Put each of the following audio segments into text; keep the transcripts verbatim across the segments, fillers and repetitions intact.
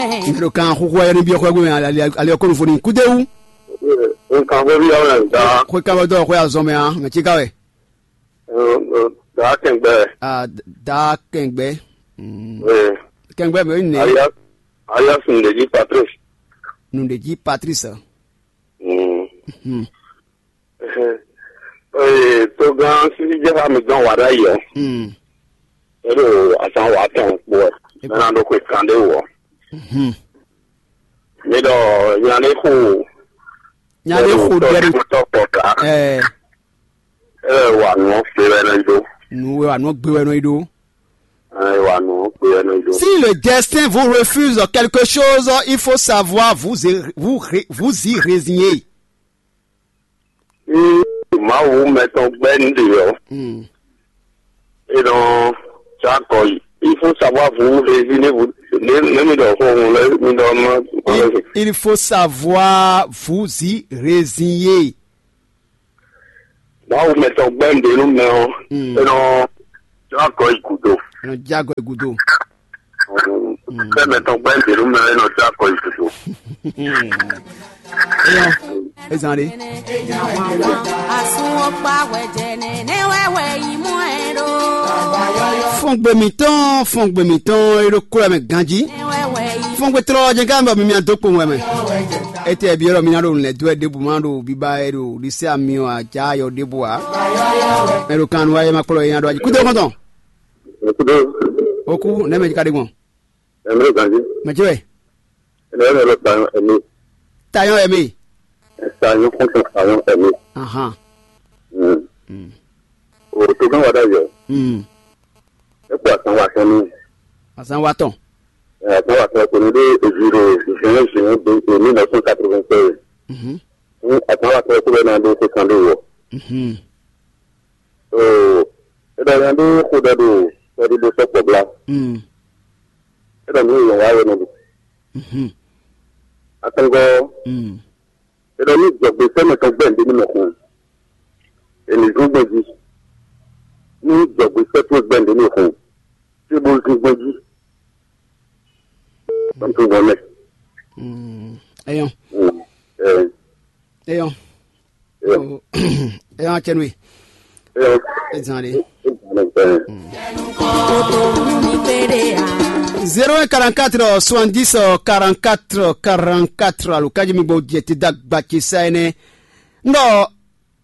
Mɛ ɖo kan xúxú ayɔ níbi ɔxɔ gbé mɛ ali ɔkɔ nufo ni kúdéwu. Nǹkan fẹ́ bí ọ̀rẹ́ ń dá. Xwé kábọ̀ dọ́ xwé azɔn mɛ a mɛ tí ká wɛ. Dá kẹ̀ǹgbẹ́. Ah, dá kẹ̀ǹgbẹ́. Mm. Kẹ̀ǹgbẹ́ mi ò ní. Alias Ndeji Patrice. Nùdèjì Patrice. Mm. Hmm. Ee, togán sísí jẹ́ ká mi dán wàdá yìí ọ́. Mm. É ɖo azán wǎ tɔn kpo ɛ. Mɛ ná ɖó xwe kan ɖé wɔ. Mhm. Mi ɖɔ nya ɖé xo. Nya ɖé xo ɖɛ ɖo. Tɔkpɔ ká. Ɛɛ. Ɛ wà nù ɔ́ fé wɛ nɔ yi ɖó. Nu wɛ wà nù ɔ́ gbé wɛ nɔ yi ɖó. Ɛ wà nù ɔ́ fé wɛ nɔ yi ɖó. Si le destin vous refuse quelque chose, il faut savoir vous, vous, vous y résigner. Ní Mawu mɛtɔn gbɛ́ nǔɖé ɔ́, Hmm. é nɔ sɔ́ akɔ yi. Il faut savoir vous résigner, vous ne ne mi ɖɔ xó hun lɛ mi ɖɔ ma. Il, il faut savoir vous y résigner. Mawu mɛtɔn gbɛ́ nǔɖé nú mɛ ɔ́, Hmm. é nɔ sɔ́ akɔ yi gǔdo. Ɛ nɔ jɛ agɔ yi gúdo. Fɛmɛ tɔn gbɛ́ nǔ mɛ nɔ dó akɔ yìí tuntun. Eyɔn, ezan ɖe. Fɔngbe mǐtɔn, fɔngbe mǐtɔn, e ɖo kúlɔ mɛ ganjí. Fɔngbe tlɔ jɛ gán bɔ mi mi adó kpowun wɛ mɛ. Etɛ bi yɔrɔ mi na ɖo nǔ lɛ dó wɛ ɖěbǔ ma ɖo biba e ɖo ɖisɛ ami ɔ ajá yɔ ɖěbǔ ǎ. Mɛ ɖo kan nu wa ye ma kplɔ ye nya ɖo aji. Kúdó kɔntɔn. Okudo. Oku, nɛ mɛ ka ɖe gbɔn? Ɛmɛ ganji. Mɛ jɛ wɛ? Ɛnɛ ɛmɛ lɔ tayɔn ɛmɛ. Tayɔn ɛmɛ. Tayɔn kɔntɔn tayɔn ɛmɛ. Ahan. Mm. Mm. O to gan wa da yɔ. Mm. E ko asan wa tɔn ni. Asan wa tɔn. Ɛ, asan wa tɔn ko ni de evi ro zɛn zɛn de emi nɔ sɔn quatre-vingt-seize. Mhm. Ni asan wa tɔn ko bɛ na do ko kan do wɔ. Mhm. Oo, e ɖɔ nya ɖé xo ɖɔ ɖo kpɛɖiɖo sɔkpɔ bla. Mm. E ɖɔ nǔ yɔn wá wɛ nɔ ɖu. Mhm. Atɔngɔ, Mm. e ɖɔ nú jɔgbe sɛmɛ tɔn gbɛn ɖe ní mɛ xun. E ní zún gbɛn jí. Nú jɔgbe sɛ tɔn gbɛn ɖe ní xun. Tí bó zún gbɛn jí. Tɔn tún gbɔn mɛ. Mm. Eyɔn. Mm. Ɛ. Eyɔn. Eyɔn. Eyɔn, cɛ nwe. Ezan de. Zéro un quarante-quatre soixante-dix quarante-quatre quarante-quatre, alo kaji mi gbɔ jɛ ti dagba ci sa ene. Ndɔ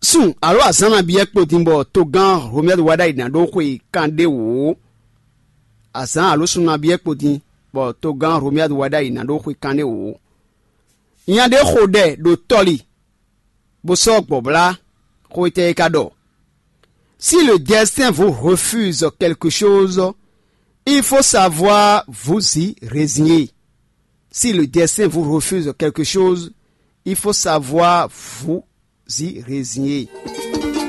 sun alo azan na biɛ kpo din bɔ togán Romuald Wadagni na ɖo xwe kan ɖe wò. Azan alo sun na biɛ kpo din bɔ togán Romuald Wadagni na ɖo xwe kan ɖe wò. Nya ɖé xo ɖɛ ɖo tɔli bó sɔ́ gbɔ̌blá xó étɛ́ é ka ɖɔ. Si le destin vous refuse quelque chose, il faut savoir vous y résigner. Si le destin vous refuse quelque chose, il faut savoir vous y résigner.